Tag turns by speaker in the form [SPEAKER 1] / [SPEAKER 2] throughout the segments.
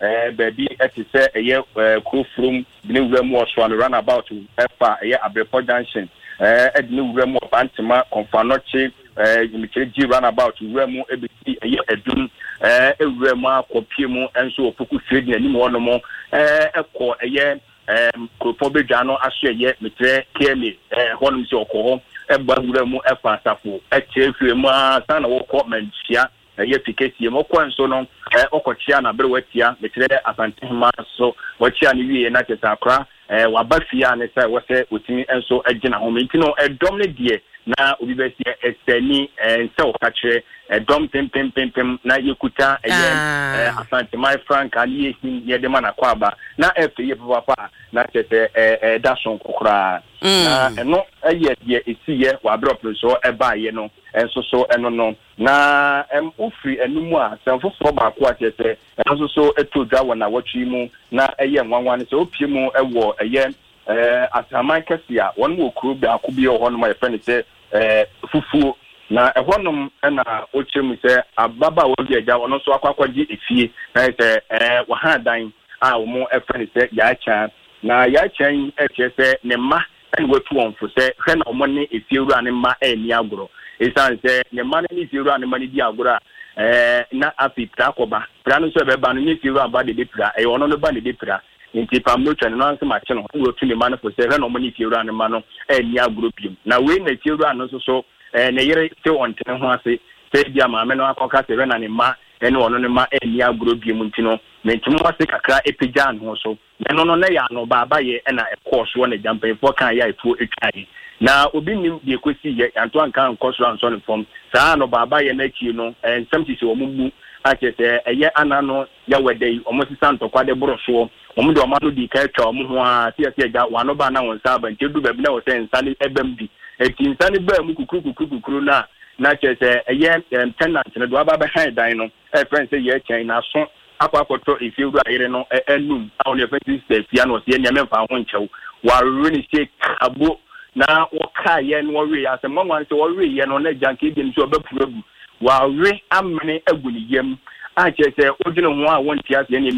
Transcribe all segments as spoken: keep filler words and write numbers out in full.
[SPEAKER 1] Ɛɛ baabi ɛte sɛ ɛyɛ ɛɛ Kurofurom de ne wura mu wɔ Soano Runabout, ɛfa ɛyɛ Abrepɔ Junction, ɛɛ ɛde ne wura mu wɔ Bantama, Kɔnfanɔkye, ɛɛ Nimikyerɛ G Runabout wura mu, ebesi ɛyɛ Adum, ɛɛ ewura mu akɔpie mu nso wɔ Poku Trading anim hɔnom, ɛɛ ɛkɔ ɛyɛ ɛɛm kuropɔn bedwa no aso, ɛyɛ mekyerɛ K M A ɛɛ hɔnom sɛ ɔkɔ hɔ, ɛba wura mu ɛfa Asafo, ɛkyerɛ firi mu a san na wɔkɔ Manhyia, ɛyɛ fi kɛseɛ mu. Ɔkɔ nso no, ɛɛ ɔkɔkyea na abere watia, mekyerɛ Asantehema so, wɔkyea no wie na kyerɛ sɛ akora ɛɛ waba fie a ne sɛ wɔsɛ otumi nso gyina ho. Nti no ɛdɔm no deɛ na obi bɛsi ɛsɛni ɛɛ nsɛ ɔka kyerɛ ɛdɔm pempempempem na yɛkuta ɛyɛ ɛɛ Asanteman frankaa ne yɛhim yɛde ma n'akɔ aba na ɛfɛ yie papaapa, na kyerɛ sɛ ɛɛ ɛda sonko koraa. Na ɛno ɛyɛ deɛ esi yɛ wɔ abere ɔpere ɛbaayɛ no nso so. Ɛno no na ɛm wofiri ɛno mu a, sɛm foforɔ baako a kyerɛ sɛ ɛno nso so ɛto dwa wɔ n'awɔtwe mu na ɛyɛ nwanwa no sɛ opie mu ɛwɔ ɛyɛ ɛɛ Asaman Kɛse a wɔn wɔ kuro baako bi wɔ hɔnom a yɛfrɛ no sɛ ɛɛ Fufuo, na ɛhɔnom ɛna ɔkyerɛ mu sɛ ababaawa bi agya ɔno nso akɔ akɔgye efie na yɛ sɛ ɛɛ wɔhan dan a wɔn ɛfrɛ no sɛ Yaakya. Na Yaakya yi ɛkyerɛ sɛ ne mma ɛna watu wɔn fo sɛ hwɛ na wɔn ne efiewura ne mma ɛnni agorɔ, ɛsiane sɛ ne mma no ne efiewura ne mma no di agorɔ a, ɛɛ na afei pira akɔba. Pira no nso ɛbɛba no nye efiewura ba de bɛpira, ɛyɛ ɔno no ba ne bɛpira. Nti pam no twa ne no anso makye no, ɛna watu ne mma no fo sɛ hwɛ na wɔn ne efiewura ne mma no ɛnni agorɔ biom. Na wei na efiewura no nso so ɛɛ ne yere te ɔntene ho ase sɛ ebi a maame no akɔka sɛ hwɛ na ne mma ɛne ɔno ne mma ɛnni agorɔ biom. Nti no mentumi ase kakra epagya ne ho so na ɛno no na yɛ ano baaba yɛ ɛna ɛkɔɔ soɔ na gya mpanyinfoɔ kan yɛ a etuo etwa yɛ na obi nim deɛ ekosi yɛ yanto anka nkɔ soro ansɔ ne fam. Saa ano baaba yɛ n'akyi no, ɛɛ nsɛm sisi wɔn mu akyerɛ sɛ ɛyɛ ana no yɛwɔ dɛ yi wɔn sisa ntɔkwa de boro soɔ. Wɔn de wɔn ano di ka atwa wɔn ho a si ɛsi agya wɔn ano ba na wɔn nsa aba. Nti edu baabi na wɔ sɛ nsa ne ɛbɛm bi eti nsa ne baa mu kukuru kukuru kukuru na na kyerɛ sɛ ɛyɛ ɛm tenant no de waba abɛhan dan no, ɛfrɛ sɛ yɛ kyɛn n'aso akɔ akɔtɔ efiewura yere no ɛnum a ɔno yɛfrɛ sɛ Efia, na ɔsi ɛnìyɛn mɛmfa ho nkyɛw wawe ne se kabo na wɔkaeɛ no wɔwe asɛm nwanwa sɛ wɔweeɛ no na agya nka ebi nso ɔbɛpuru agu, wawe amene agu ne yam a kyerɛ sɛ wodwene ho a wɔnte aseɛ ne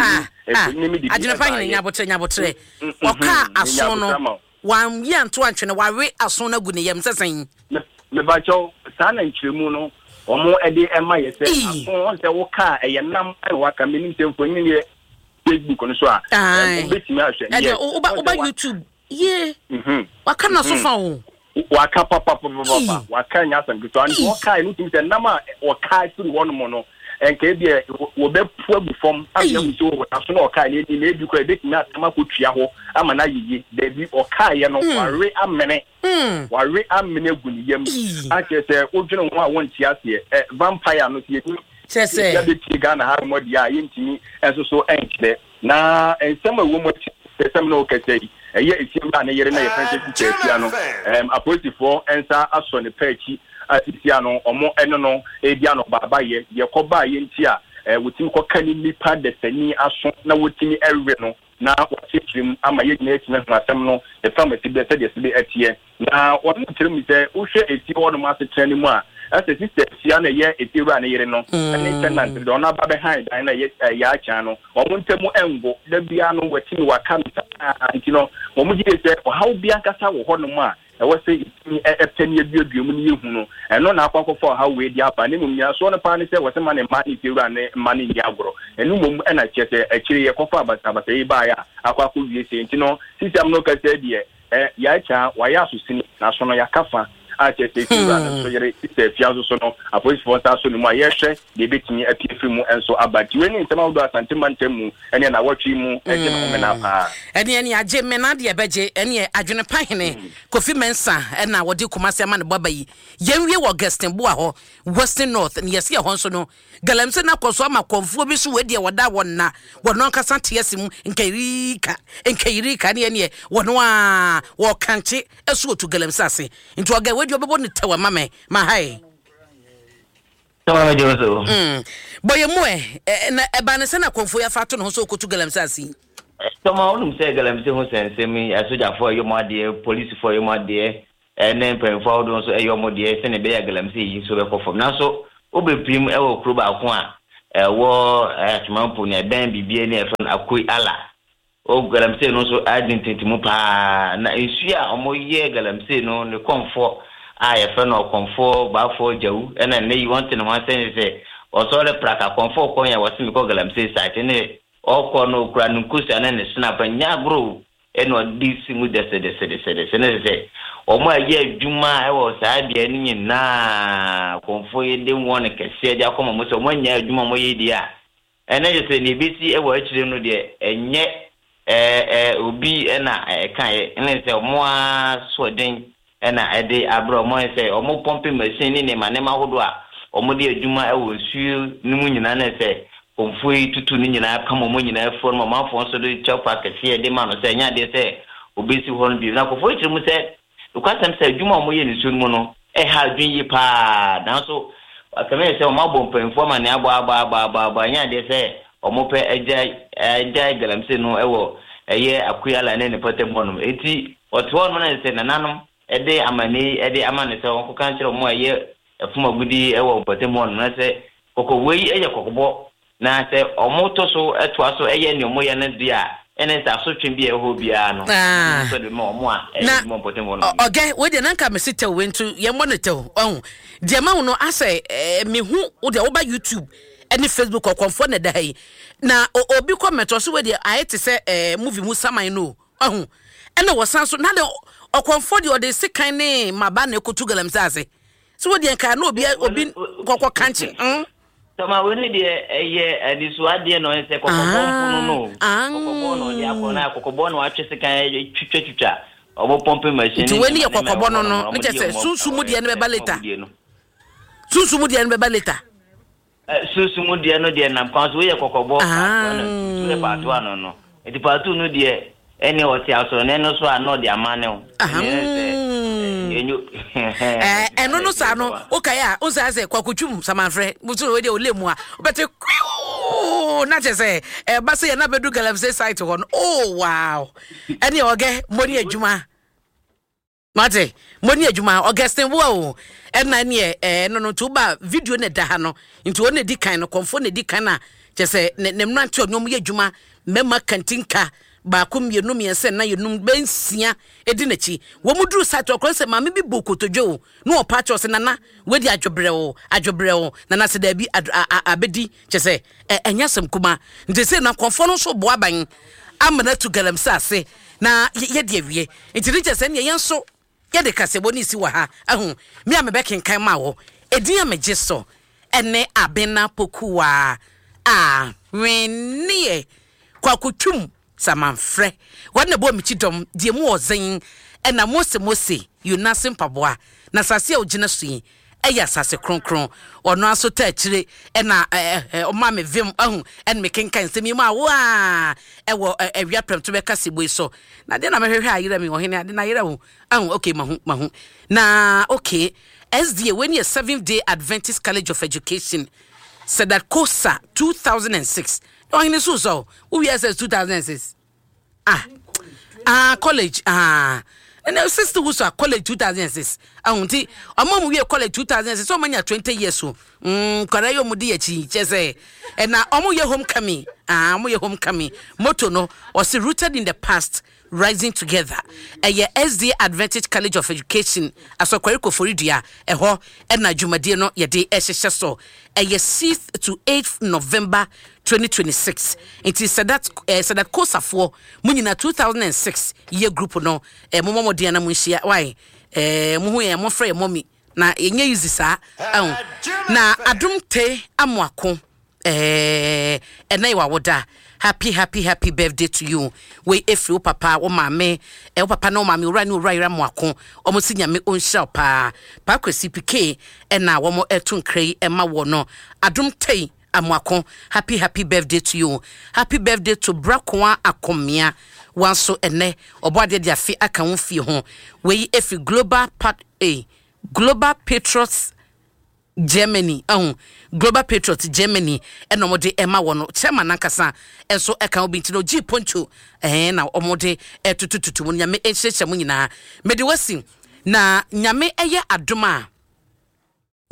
[SPEAKER 2] emi de. Adwene pa hene, nyabotrɛ, nyabotrɛ. Ɔkaa aso no wamyi anto antwene, wawe aso no agu ne yam sɛ sɛn?
[SPEAKER 1] Mebakyɛw, saa na nkyerɛmu no wɔn de ɛma yɛ sɛ aso wɔn sɛ wokaa ɛyɛ nam ɛna waka. Menim sɛ mfonyin yɛ Facebook no so a wobɛtumi ahwɛ.
[SPEAKER 2] Ɛdeɛ woba woba YouTube yie, waka na so fa o.
[SPEAKER 1] Waka papapapapa, waka nya asɛm ketewa. Nti wɔkae no tumi sɛ nam a wɔkae firi hɔnom no, nka ebi wɔbɛpu agu fam afei ahu sɛ wɔ aso na ɔkae no edi na ebi kora ebetumi atam akɔtua hɔ ama no ayɛ daabi. Ɔkaeɛ no wawe amene, wawe amene agu ne yam akyerɛ sɛ wodwene ho a wɔnte aseɛ. Ɛ vampire no sɛ yɛni
[SPEAKER 2] kyerɛ sɛ
[SPEAKER 1] yɛbɛpie Ghana ha nom deɛ a yɛntumi nso so nkyerɛ. Na nsɛm a ɛwɔ mu akyi sɛ sɛm na ɔkasa yi, ɛyɛ efiewura ne yere na yɛfrɛ sɛ Sisa Afia no, ɛm apolisifoɔ nsa asɔ ne pɛ akyi a sisia no ɔmo ɛne no edi ano baaba yɛ deɛ kɔbaa yɛ. Nti a ɛɛ wɔtumi kɔka ne nipa dasani aso na wɔtumi ɛwe no na wɔakyerɛkyerɛ mu ama yɛn nyinaa atumi ahu asɛm no ne fam asi bɛ sɛdeɛ si bi ɛteɛ. Na wɔn kyerɛ mu sɛ wohwɛ efie hɔnom asetena no mu a, ɛsɛ Sisa Afia na ɛyɛ efiewura ne yere no ɛne tenant deɛ ɔno aba bɛhan dan na ɛyɛ ɛyɛ akyɛn no, wɔn ntam ɛngo da biara no wɔatumi waka no saa. Nti no wɔn gye sɛ ɔhaw bi ankasa wɔ hɔnom a ɛwɔ sɛ yɛtumi ɛpɛ ne aduadua mu ne yɛhu no, ɛno na akɔ akɔfa ɔhaw wei de aba. Ne mmom nyinasoɔ no paa ne sɛ wɔsɛ ma ne mma ne fiewura ne mma ne nni agorɔ. Ɛno mmom ɛna kyerɛ sɛ akyire yɛkɔfa abasabasa yi baeɛ a akɔ akɔ wie sɛ. Nti no sisi am no kasa deɛ ɛ yɛakyɛ wayɛ asosini na so no yɛaka fa a kyerɛ sɛ fiewura no nso yere Sisa Afia nso so no, apolisifoɔ nsa so ne mu a yɛrehwɛ deɛ ebɛtumi apue firi mu nso aba. Nti wei ne nsɛm ahodoɔ Asante mantam mu ɛne nawɔtwe mu ɛgye ne homena paa.
[SPEAKER 2] Ɛne ɛne agye mmena deɛ ɛbɛgye ɛne Adwene Pa hene Kofi Mensa ɛna wɔde Kumase ama ne bɔba yi. Yɛnwie wɔ Augustin Boa hɔ, Western North ne yɛsi ɛhɔ nso no galamsey no akɔ so ama kɔnfuo bi so. Wei deɛ wɔda wɔn na wɔn ankasa te ase mu nkayirika nkayirika ne ɛneɛ wɔn a wɔkankye ɛso otu galamsey ase. Nti ɔga wei deɛ ɔbɛbɔ ne tɛw ama mɛ ma ha yi.
[SPEAKER 3] Sọ́wọ́n mi jẹ́ so.
[SPEAKER 2] Bɔyɛ mu ɛ na ɛba ne sɛ na kɔnfuo yɛ afa ato ne ho so okotu galamsey ase yi.
[SPEAKER 3] Tɔmɔ, wonim sɛ galamsey ho sɛnsɛm yi, asogyafoɔ ɛyɛ ɔmo adeɛ, polisifoɔ ɛyɛ ɔmo adeɛ, ɛne mpanyinfoɔ ahodoɔ nso ɛyɛ ɔmo deɛ sɛnea ɛbɛyɛ galamsey yi nso bɛkɔ fam. Nanso wobɛpirim ɛwɔ kuro baako a Ɛwɔ Atwemampo ne ɛbɛn bibie ne ɛfɛ no Akoi Ala o, galamsey no nso adi ntenten paa. Na nsuo a wɔyɛ galamsey no, ne kɔnfoɔ a yɛfrɛ no Ɔkɔnfoɔ Baafoɔ Gyawu, ɛna nnɛ yi wɔn te ne ho asɛn sɛ ɔsɔre praka kɔnfoɔ kɔn yɛ wɔsi mi kɔ galamsey site ne ɔkɔ no, okura ne nkosua ne ne snap nyɛ agorɔ, ɛna ɔde si mu dɛsɛdɛsɛdɛsɛdɛsɛ ne sɛ wɔn a yɛ adwuma ɛwɔ saa beaeɛ no nyinaa, kɔnfoɔ yi de wɔn kɛseɛ de akɔma mo sɛ wɔn anya adwuma a wɔyɛ deɛ a, ɛnɛ yɛ sɛ nea ebesi ɛwɔ akyire no deɛ, ɛnyɛ ɛɛ ɛɛ obi ɛna ɛka yɛ, ɛne sɛ wɔn a soɔden ɛna ɛde abrɛ wɔn sɛ wɔn pumping machine ne nneɛma nneɛma ahodoɔ a wɔn de adwuma ɛwɔ nsuo no mu nyinaa, ne sɛ kɔnfoɔ yi tutu ne nyinaa pam wɔn nyinaa afuo no, ɔmanfoɔ nso de kyɛw kɛseɛ de ma no sɛ ɛnyɛ adeɛ sɛ obesi hɔ no bio. Na kɔnfoɔ yi kyerɛ mu sɛ nokwasɛm sɛ adwuma a wɔyɛ ne nsuo no mu no ɛha adwene yie paa, nanso akame yɛ sɛ wɔn abɔ mpanyinfoɔ ama ne abɔ abɔ abɔ abɔ abɔ, ɛnyɛ adeɛ sɛ wɔn pɛ agya agya galamsey no ɛwɔ ɛyɛ Akuyala ne ne pɔtɛm hɔnom. Eti ɔte hɔ nom na sɛ nananom ɛde amane ɛde ama ne sɛ wɔn kɔka nkyerɛ wɔn a ɛyɛ ɛfum agudi ɛwɔ mpɔtɛm hɔnom, na sɛ kɔkɔwɔ yi ɛyɛ kɔkɔbɔ, na sɛ ɔmo to so ɛtoa so ɛyɛ nea ɔmo yɛ no deɛ a, ɛne sɛ asotwe bi a ɛwɔ hɔ biara no
[SPEAKER 2] Ah.
[SPEAKER 3] nso de ma ɔmo a ɛyɛ
[SPEAKER 2] Na
[SPEAKER 3] adwuma mpɔtɛm hɔ nom.
[SPEAKER 2] Ɔgɛ wei deɛ, nanka mesi tɛw wei nso yɛmmɔ no tɛw. Ɔho deɛ ma wo no asɛ ɛɛ mehu wo deɛ, woba YouTube ɛne Facebook, Ɔkɔmfoɔ na ɛda ha yi na o- obi comment ɔso wei deɛ ayɛ te sɛ ɛɛ movie mu saman no o. Ɔho ɛna wɔsan so na de Ɔkɔmfoɔ deɛ ɔde sekan ne maba na ekotu galamsey ase so wo deɛ nka na obi obi kɔkɔ kankye mm.
[SPEAKER 3] Tɔma wei ne deɛ ɛyɛ anisoadeɛ na ɔyɛ sɛ kɔkɔbɔ mpono no.
[SPEAKER 2] Ah.
[SPEAKER 3] Kɔkɔbɔ na ɔde akɔ na kɔkɔbɔ na watwe sekan twitwa twitwa ɔmo pumping machine.
[SPEAKER 2] Nti wei ne yɛ kɔkɔbɔ no no ne kyɛ sɛ sunsun mu deɛ no bɛba later, sunsun mu deɛ no bɛba later.
[SPEAKER 3] Sunsun mu deɛ no deɛ nam kwan so. Wei yɛ kɔkɔbɔ
[SPEAKER 2] Ah.
[SPEAKER 3] part one, nti wei yɛ part one no no nti part two no deɛ, ɛne ɔte asɔrɔne no so a na ɔde ama ne wo.
[SPEAKER 2] Ah.
[SPEAKER 3] Ɛne sɛ, ɛnyo-
[SPEAKER 2] ɛɛ ɛno no saa no, wokae a wosaa sɛ Kwakotwum samanfrɛ mutu wei deɛ ɔlɛ mu a wobɛte kwiu na kyɛ sɛ ɛba sɛ yɛna bɛdu galamsey site hɔ no. Oh wow, ɛne ɔgɛ mmɔ ne adwuma mate, mmɔ ne adwuma Augustin wo o. Ɛna neɛ ɛɛ no no nti woba video no ɛda ha no, nti wɔn na ɛdi kan no, kɔnfoɔ na ɛdi kan a kyɛ sɛ ne ne mmerante ɔne ɔmo yɛ adwuma, mmarima kantinka baako, mmienu, mmiɛnsa, nnan, enum, bɛnsia edi n'akyi. Wɔn mu duru site ɔkɔn sɛ maame bi bu kotodwe o na ɔpa akyɛw sɛ, "Nana, wedi adwobrɛ o, adwobrɛ o, nana." Sɛ daabi, ad- a- a- abɛdi kyɛ sɛ ɛ ɛnyɛ asɛm kuma. Nti sɛ na kɔnfoɔ no nso boa aban ama no atu galamsey ase na yɛ- yɛde awie. Nti ne kyɛ sɛ neɛ yɛn nso yɛde kasɛbɔ ne si wɔ ha ahu me a mebɛkenkan ma wɔ ɛdin a megye so ɛne Abena Pokuwa a hweneɛ Kwakotwum samanfrɛ wɔn na bɔ mekyi dɔm deɛ mu ɔzen ɛna Mose Mose Yonase mpaboa na asase a ogyina so yi ɛyɛ asase kronkron. Ɔno aso ta akyire ɛna ɛɛ ɛ ɔma me vim ahu ɛna mekenkan nsɛm yi mu a waa ɛwɔ ɛ ɛwia prɛmto bɛka sebo yi so. Na deɛ na mehwehwɛ ayerɛ mi ɔhene ade na ayerɛ wo ahu. Okay, mahu mahu na okay. S D A wei ne yɛ Seventh Day Adventist College of Education, Sedatkosa two thousand and six. Ɔhene so sɔ wowie S S two thousand and six, ah ah, college ah, ɛnna sixty wusu a college two thousand and six ahun. Nti ɔmo mu wie college two thousand and six, ɔmo anya twenty years o. mm nkwadaa yi ɔmo di akyi kyɛ sɛ ɛna ɔmo yɛ homecoming. Ah, ɔmo yɛ homecoming. Motto no ɔsi "Rooted in the past, rising together." Ɛyɛ S D Advantage College of Education, Asɔkwari Koforidua, ɛhɔ ɛna dwumadie no yɛde ɛhyehyɛ so. Ɛyɛ sixth to eighth November twenty twenty-six. Nti Sadat eh, Sadat Kosafoɔ mo nyinaa two thousand and six yɛ group no, eh, mo mmɔmɔden na mo nhyia wai eh, mo ho yɛn, mo frɛ yɛ mɔmi na yɛnyɛ easy saa ɛho. Na Adom Te Amoako, ɛɛ ɛnɛ yɛ wawoda. Happy happy happy birthday to you. Wei efiri wo papa, wo maame, ɛ wo papa ne wo maame, owura ne owura yɛrɛ Amoako. Wɔn si Nyame ɔnhyira wo paa. Paakwesi Pike ɛna wɔn ɛto nkira yi ɛma wɔ no. Adom Te Amoako, happy happy birthday to you. Happy birthday to Brakoa Akomea wanso, ɛnɛ ɔbɔ adeɛ de afe aka wo fie ho. Wei efiri Global Part A, Global Patriots Germany ɛho, Global Patriot Germany ɛna wɔde ɛma wɔ no. Chairman nankasa ɛnso ɛka obi nti na ogyi poncho ɛhɛn na wɔde ɛtutututu mu. Nyame ɛnhyerɛhyɛ mu nyinaa. Mede wasi na Nyame ɛyɛ adom a,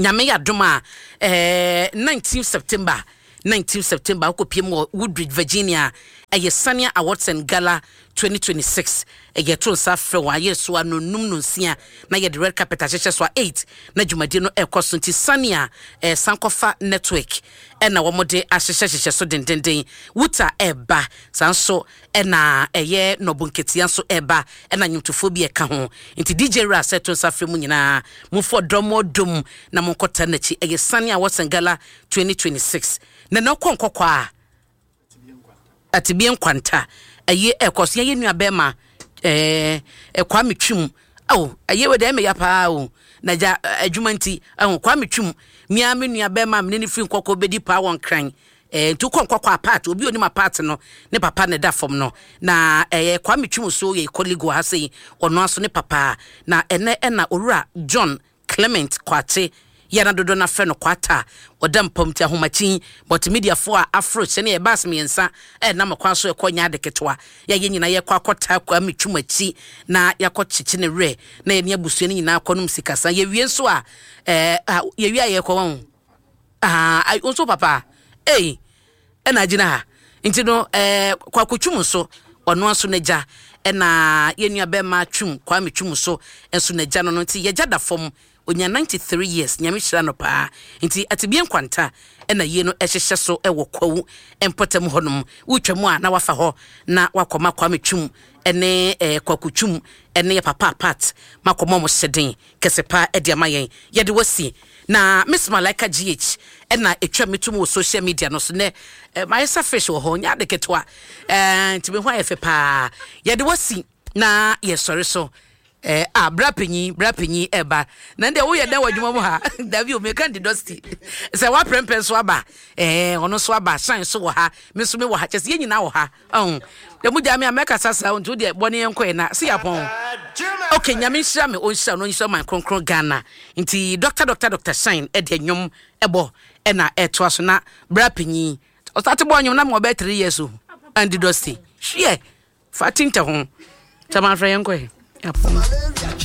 [SPEAKER 2] Nyame yɛ adom a, ɛɛ nineteen September nineteen September, wokɔpie mu wɔ Woodbridge, Virginia. Ɛyɛ Sania Awards and Gala twenty twenty-six. Ɛyɛ to nsa frɛ wɔn ayɛ so a no num no nsia na yɛde red carpet ahyehyɛ so a eight na dwumadie no ɛrekɔ so. Nti Sania ɛɛ Sankɔfa Network ɛna wɔn de ahyehyɛ hyehyɛ so dendenden. Wuta ɛreba saa nso, ɛna ɛyɛ nɔbo nketewa nso ɛreba, ɛna nnwomtofoɔ bi ɛka ho. Nti D J Ra sɛ to nsa frɛ mu nyinaa, momfa ɔdɔm ɔdom na monkɔta n'akyi. Ɛyɛ Sania Awards and Gala twenty twenty-six na na ɔkɔ nkɔkɔ a Atibie Nkwanta ɛyɛ ɛkɔ so. Yɛyɛ nua bɛrima ɛɛ Kwame Twum awo, ɛyɛ wɔ deɛ ɛmɛ ya paa o, na gya adwuma nti ɛho Kwame Twum mmea me nua bɛrima mene ne firi Nkɔkɔ bɛdi paa wɔ Nkran. ɛɛ nti wokɔ Nkɔkɔ apart, obi onim apart no, ne papa ne da fam no na ɛyɛ Kwame Twum. So yɛ colleague wɔ ha sɛ ɔno aso ne papa na ɛnɛ ɛna Owura John Clement Kwakye yɛna dodo no afrɛ no Kwata, ɔda mpam. Nti ahomakyin multimediafoɔ a afro hyɛ ne yɛ bus mmiɛnsa ɛnam kwan so ɛkɔ nyɛ ade ketewa. Yɛyɛ nyinaa yɛkɔ akɔta Kwame Twum akyi na yɛakɔ kyekye ne werɛ na yɛne abusua no nyinaa kɔnom sikasa. Yɛwie nso a ɛɛ yɛwie a yɛkɔ wɔn aa nso papa ei ɛna agyina ha. Nti no ɛɛ Kwako Twum nso, ɔno nso n'agya ɛna yɛn nua bɛrima Twum, Kwame Twum so nso n'agya no no nti yɛgya da fam, onya ninety-three years. Nyame hyira no paa. Nti Atibie Nkwanta ɛna yie no ɛhyehyɛ so ɛwɔ Kwawu mpɔtam hɔnom. Wotwa mu a na wafa hɔ na wakɔma Kwame Twum ɛne ɛɛ Kwaku Twum ɛne yɛ papa apart makɔma ɔmo hyɛden kɛse paa ɛde ama yɛn. Yɛde wasi na Miss Malaika G H ɛna etwa mi tum wɔ social media no so nɛ. ɛ mayɛ sɛ fish wɔ hɔ, nyɛ ade ketewa ɛɛ nti mi ho ayɛ fɛ paa. Yɛde wasi na yɛsɔre so ɛɛ a bra panyin, bra panyin ɛba na deɛ woyɛ dɛ wɔ adwuma mu ha dabi o, meka ndi dusty sɛ waprɛmpɛ nso aba, ɛɛ ɔno nso aba, shine so wɔ ha, me nso me wɔ ha, kyɛ sɛ yɛn nyinaa wɔ ha. Ɔn dɛm gya me a mɛkasa saa nti wodeɛ bɔne yɛn kɔɛ na si yapɔn. Okay, Nyame nhyira me, ɔnhyira no, ɔnhyira man kronkron Ghana. Nti Doctor Doctor Doctor Shine ɛde nnwom ɛbɔ ɛna ɛtoa so na bra panyin ɔsate bɔ nnwom na ma ɔbɛyɛ three years o. Andy Dusty hwiɛ fa tintɛ ho kyɛ manfrɛ yɛn kɔɛ yapɔn.